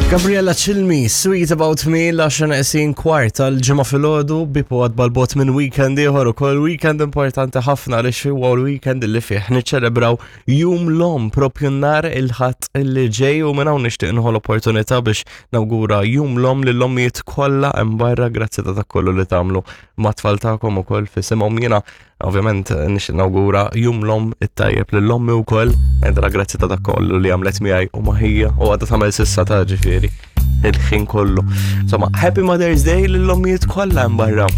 Gabriella Cilmi, Sweet About Me, l-10 neqsin kwart tal-ġimgħa filgħodu bipu għad balbot minn weekend ieħor ukoll weekend importanti ħafna li huwa l-weekend li fih niċċelebraw jum l-om propju nhar il-ħadd li ġej u minn hawn nixtieq nieħu l-opportunità biex nawgura jum l-om lill-ommijiet kollha hemm barra grazzi ta' dak kollu li tagħmlu mat-tfal tagħkom ukoll f'isimhom jiena Ovvjament nixtieq nawgura jum l-om it-tajjeb lil ommi wkoll, għedra grazzi ta' dak kollu li għamlet miegħi u maħija u għadha tagħmel sissa ta' ġifieri il-ħin kollu. Insomma, Happy Mother's Day lill-ommijiet kollha hemm barra.